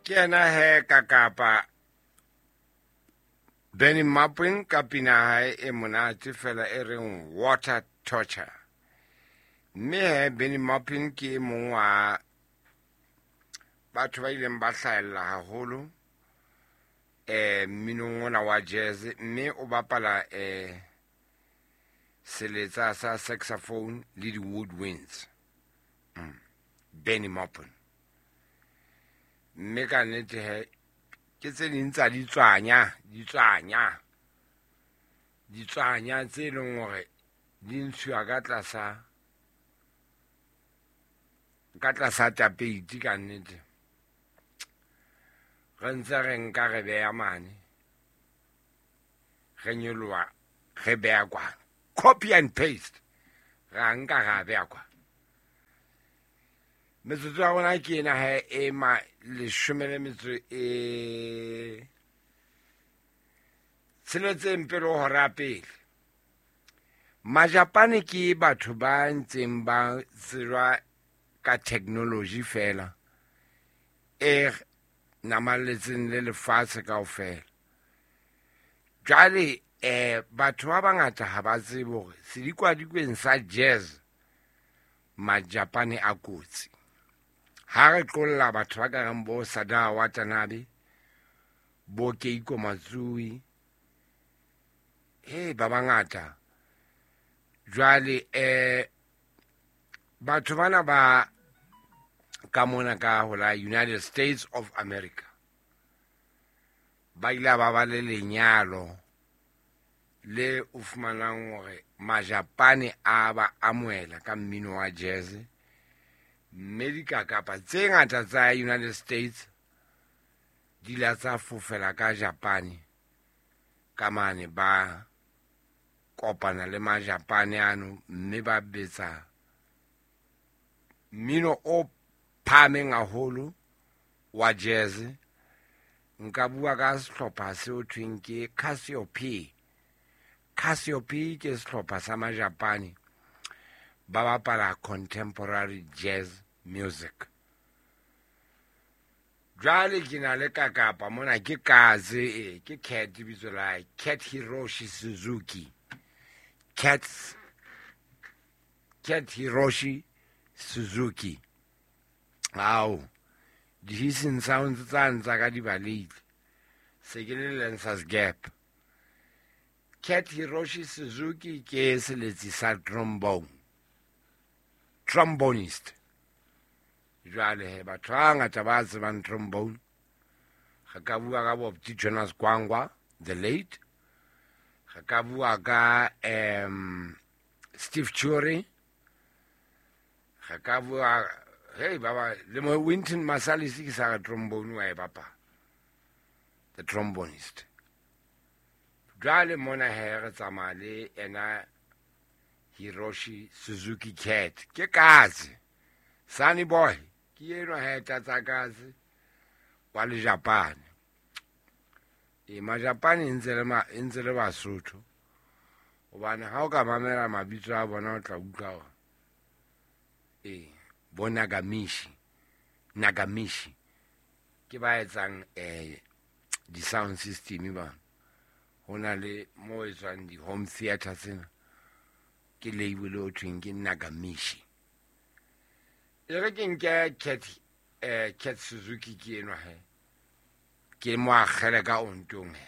Ke yena he ka kapa Benny Mapping ka pina hae e monate fela e reng Water Torture. Mme he Benny Mapping ke e mong wa batho ba ileng ba hlahella haholo eh mminong ona wa jazz, mme o bapala seletsa sa saxophone le di-woodwinds. Benny Maupin. Mme ka nnete he ke tse ding tsa ditswanya tse leng hore di ntshuwa ka tlasa tapeiti ka nnete. Re ntse re nka re beya mane, re nyoloha re beya kwana, copy and paste, ra nka ra beya kwana. Metsotso ya rona ke ena he e ma 16 pele ho hora pele. Majapane ke batho ba ntseng ba tsejwa ka technology fela e namalletseng le lefatshe kaofela. Jwale batho ba bangata ha ba tsebe hore sedikwadikweni sa jazz Majapane a kotsi. Ha re qolla batho ba ka reng bo Sadao Watanabe, bo Keiko Matsui, ba bangata. Jwale batho bana ba ka mona ka ho la United States of America ba ile ba ba le lenyalo le o fumanang hore Majapane a ba amohela ka mmino wa jazz, mme dikakapa tse ngata tsa United States di la tsa fofela ka Japane ka mane, ba kopana le Majapane ano mme ba betsa mmino o phahameng haholo wa jazz. Nka bua ka sehlopha seo thweng ke Cassiope. Cassiope ke sehlopha sa Majapane ba bapala contemporary jazz music. Jwale ke na le kakapa mona, ke katse ke Cat bitso la hae, Cat Hiroshi Suzuki. Cat Hiroshi Suzuki. Ao, di-hissing sounds tsa ntsa ka di baleile. Se ke le Lancers Gap. Cat Hiroshi Suzuki ke seletsi sa trombone. Trombonist. Jwale he batho ba ngata ba tsebang trombone. Re ka bua ka Bob Jonas Gwangwa, the late. Re ka bua ka Steve Churi. Re ka bua hey baba le mo Wynton Marsalis ke sa trombone wa e bapala. The trombonist. Jwale mona he re tsamaya le ena Hiroshi Suzuki Cat. Ke katse. Sunny boy. Ke enwa he tlatsa katse wa le Japane. E Majapane ntse le Basotho. Hobane ha o ka mamela mabitso a bona o tla utlwa hore bo Nagamishi. Nagamishi ke ba etsang di-sound system ba. Ho na le mo etswang di-home theater tsena. Ke label o thweng ke Nagamishi. E re ke nke Cat Suzuki ke enwa he. Ke mo akgele ka ontong he.